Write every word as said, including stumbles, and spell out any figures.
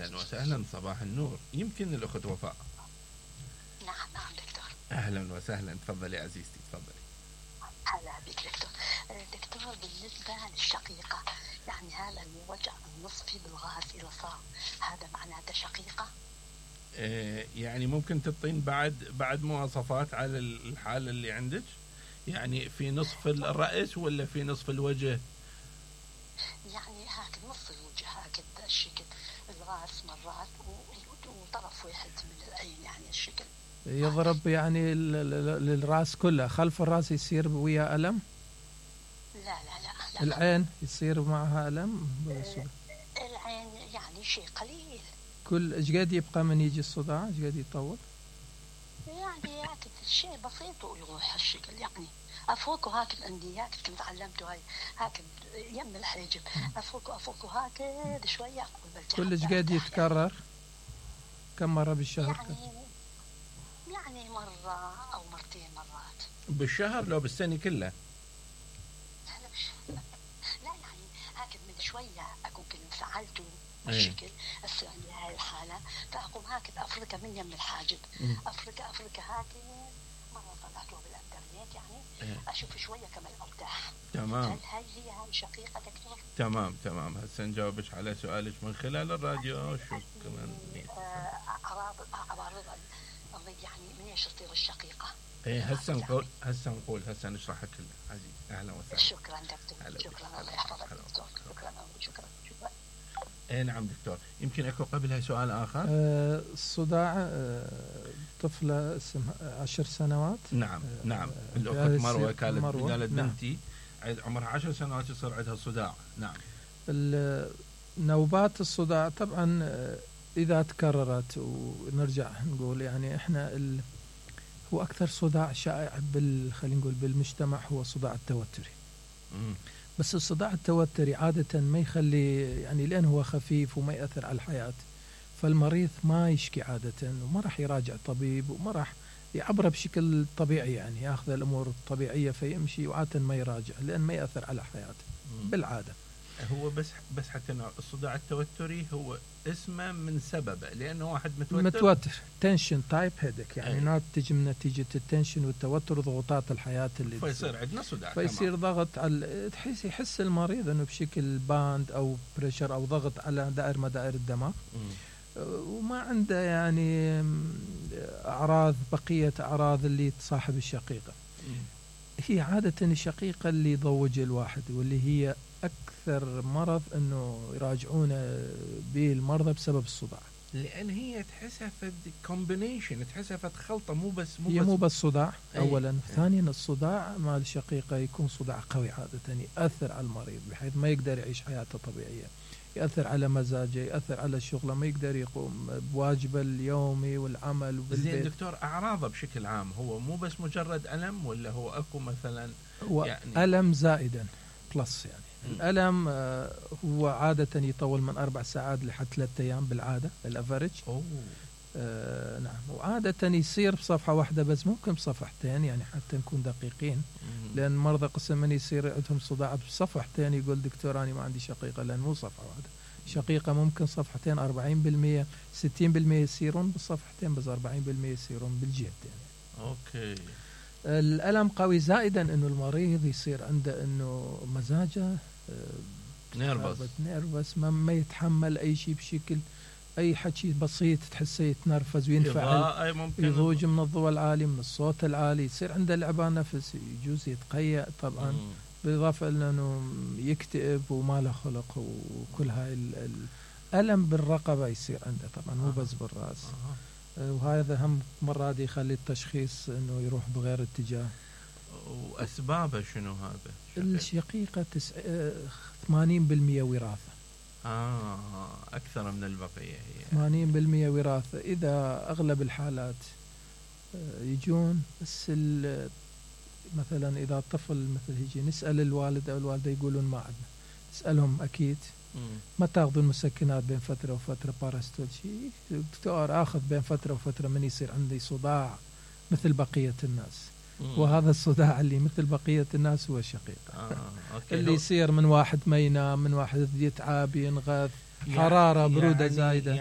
أهلا وسهلا، صباح النور. يمكن الأخت وفاء. نعم نعم دكتور. أهلا وسهلا، تفضلي عزيزتي تفضلي. هلا بك دكتور. دكتور بالنسبة للشقيقة، يعني هل الوجع النصفي بالراس إذا صار هذا معناته شقيقة؟ آه يعني ممكن تعطين بعد بعد مواصفات على الحالة اللي عندك؟ يعني في نصف الرأس ولا في نصف الوجه؟ يعني هكذا نصف الوجه هكذا الشكل، الراس مرات وطرف واحد من العين يعني الشكل يضرب يعني للراس كله، خلف الراس يصير ويا ألم؟ لا لا لا, لا. العين يصير معها ألم؟ العين يعني شيء قليل. كل ايش قد يبقى من يجي الصداع؟ ايش قد يطول؟ يعني هكذا شيء بسيط ويروح الشكل، يعني افوق وهكذا عندي هكذا كنت علمته هاي هكذا يم الحاجب، افوق وافوق وهكذا شويه. كل ايش قد يتكرر؟ كم مره بالشهر؟ يعني يعني مره او مرتين مرات بالشهر لو بالسنه كلها؟ لا مش لا يعني هكذا من شويه اكون كل انفعلته الشكل هسه عندي هاي الحاله، فاقوم هكذا افركها من يم الحاجب، افركها افركها هكذا. مره طلعته بالانترنت يعني اشوف شويه كمان ارتاح. تمام. هل هاي هي هاي شقيقه دكتور؟ تمام تمام. هسه نجاوبك على سؤالك من خلال الراديو. شو كمان اعراض اعراض يعني من ايش تصير الشقيقه؟ ايه هسه نقول هسه نقول هسه نشرحها كلها عزيزي. اهلا وسهلا. شكرا دكتور. شكرا الله يحفظك دكتور. شكرا شكرا شكرا. ايه نعم دكتور. يمكن اكو قبلها سؤال اخر. أه الصداع أه طفله اسمها عشر سنوات. نعم أه نعم. الاخت مروه كانت قالت بنتي عمرها عشر سنوات يصير عندها صداع. نعم. نوبات الصداع طبعا اذا تكررت، ونرجع نقول يعني احنا ال هو اكثر صداع شائع بال خلينا نقول بالمجتمع هو صداع التوتري. مم. بس الصداع التوتري عادة ما يخلي يعني لأن هو خفيف وما يأثر على الحياة، فالمريض ما يشكي عادة وما راح يراجع طبيب وما راح يعبره بشكل طبيعي، يعني ياخذ الأمور الطبيعية فيمشي وعادة ما يراجع لأن ما يأثر على حياته بالعادة. هو بس بس حتى الصداع التوتري هو اسمه من سببه لأنه واحد متوتر متوتر تنشن تايب هيدك، يعني ناتج من نتيجة التنشن والتوتر وضغوطات الحياة اللي فيصير عندنا صداع، فيصير ضغط على تحس يحس المريض انه بشكل باند او بريشر او ضغط على دائر مدائر الدماغ. م. وما عنده يعني اعراض بقية اعراض اللي تصاحب الشقيقة. م. هي عادة الشقيقة اللي يضوج الواحد واللي هي أكثر مرض أنه يراجعونه به المرضى بسبب الصداع، لأن هي تحسها فد كومبينيشن، تحسها فد خلطة، مو بس مو هي بس مو بس صداع أولا. أي. ثانيا الصداع مع الشقيقة يكون صداع قوي عادة يأثر على المريض بحيث ما يقدر يعيش حياته طبيعية، يأثر على مزاجه، يأثر على شغله، ما يقدر يقوم بواجبه اليومي والعمل وبالبيت. زين دكتور، أعراضه بشكل عام هو مو بس مجرد ألم ولا هو أكو مثلا هو يعني ألم زائدا بلس يعني م. الألم هو عادة يطول من أربع ساعات لحد ثلاثة أيام بالعادة الأفريج. أوه. آه نعم. وعادة يصير بصفحة واحدة بس، ممكن بصفحتين يعني حتى نكون دقيقين. مم. لأن مرضى قسم من يصير عندهم صداع بصفحتين يقول دكتور أنا ما عندي شقيقة، لأن مو صفحة واحدة. شقيقة ممكن صفحتين أربعين بالمية ستين بالمية يصيرون بالصفحتين، بس أربعين بالمية يصيرون بالجهتين. أوكي. الألم قوي زائدا إنه المريض يصير عنده إنه مزاجه نيرفس نيرفس ما, ما يتحمل أي شيء بشكل، أي حكي بسيط تحسه يتنرفز وينفعل، يضوج من الضوء العالي من الصوت العالي، يصير عنده لعبان نفس، يجوز يتقيأ طبعا. مم. بالإضافة إلى أنه يكتئب وما له خلق وكل هاي الألم بالرقبة يصير عنده طبعا، مو بس بالرأس. وهذا هم مرات يخلي التشخيص أنه يروح بغير اتجاه. وأسبابه شنو هذا؟ الشقيقة تسع... ثمانين بالمية وراثة. آه أكثر من البقية هي ثمانين بالمية وراثة. إذا أغلب الحالات يجون بس مثلا إذا الطفل مثل يجي نسأل الوالد أو الوالدة يقولون ما عندنا، نسألهم أكيد ما تاخذون مسكنات بين فترة وفترة باراستول شيء؟ دكتور آخذ بين فترة وفترة من يصير عندي صداع مثل بقية الناس. مم. وهذا الصداع اللي مثل بقية الناس هو الشقيقة. آه، اللي يصير من واحد ما ينام، من واحد يتعب ينغث، حرارة برودة زايدة.